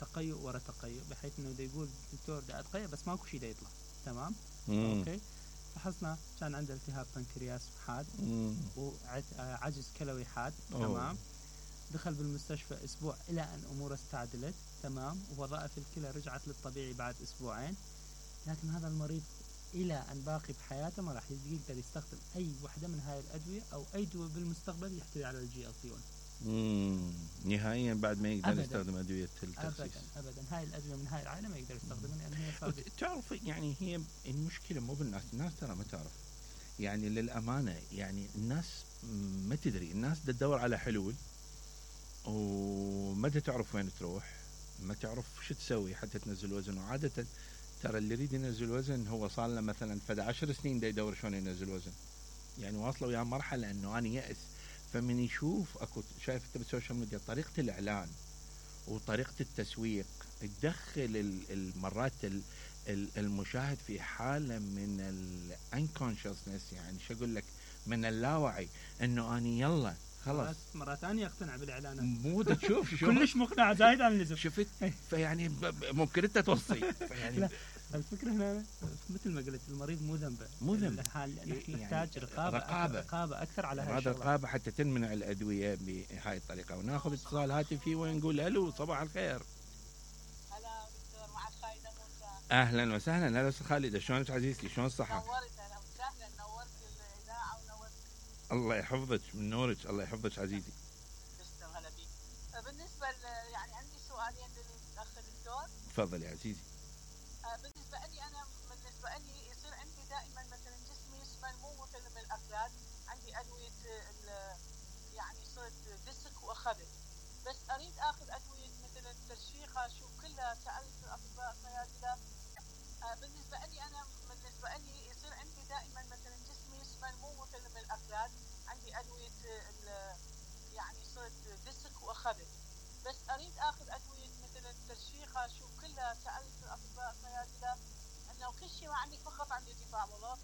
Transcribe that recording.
تقيؤ ورا تقيؤ، بحيث انه دا يقول الدكتور دا اتقيأ بس ماكو شيء دا يطلع. تمام. اوكي. فحصنا كان عنده التهاب بنكرياس حاد وعجز كلوي حاد. تمام. دخل بالمستشفى اسبوع الى ان اموره استعدلت. تمام. ووظائف الكلى رجعت للطبيعي بعد اسبوعين. لكن هذا المريض الى ان باقي بحياته ما راح يقدر يستخدم اي وحده من هاي الادويه او اي دواء بالمستقبل يحتوي على الGLP-1. نهائيا بعد ما يقدر يستخدم ادويه التخسيس. ابدا هاي الادويه من هاي العائله ما يقدر يستخدمها لان هي تعرف يعني هي المشكله مو بالناس، الناس ترى ما تعرف يعني للامانه، يعني الناس ما تدري، الناس تدور على حلول وما تعرف وين تروح، ما تعرف شو تسوي حتى تنزل وزن. وعاده ترى اللي يريد ينزل وزن هو صار له مثلا فد 10 سنين دا يدور شلون ينزل وزن، يعني واصله وياه مرحله انه انا يأس. فمن يشوف اكو شايف انت بالسوشيال ميديا طريقه الاعلان وطريقه التسويق تدخل المرات المشاهد في حاله من الانكونشسنس، يعني شو اقول لك، من اللاوعي، انه اني يلا خلاص مرات ثانيه اقتنع بالاعلانات. مو تشوف شو كلش مقنع زايد عن اللزوم. شفت؟ فيعني ممكن انت توصي يعني الفكره هنا مثل ما قلت المريض مو ذنبه، مو ذنبه، نحتاج رقابه اكثر على هذا الشغله، رقابه حتى تمنع الادويه بهاي الطريقه. وناخذ اتصال هاتفي ونقول الو صباح الخير. هلا دكتور، معك خالده موسى. اهلا وسهلا. هلا استاذ خالد، شلونك عزيزتي؟ شلون الصحه؟ نورت، اهلا وسهلا، نورت الاذاعه ونورت. الله يحفظك من نورك، الله يحفظك عزيزي. تسلم، هلا بيك. بالنسبه يعني عندي سؤالين للاخ الدكتور. تفضل يا عزيزي. بالنسبه لي يصير عندي دائما مثلا جسمي يسمن، مو مثل من الاكلات. عندي ادويه يعني صرت دسك واخذت، بس اريد اخذ ادويه مثل الترشيخه، شو كلها سالت الاطباء صيادله. بالنسبه لي يصير عندي دائما مثلا جسمي يسمن، مو مثل من الاكلات. عندي ادويه يعني صرت دسك واخذت، بس اريد اخذ ادويه مثل الترشيخه، شو كلها سالت الاطباء صيادله انه كل شيء ما عندي، فقط عندي ارتفاع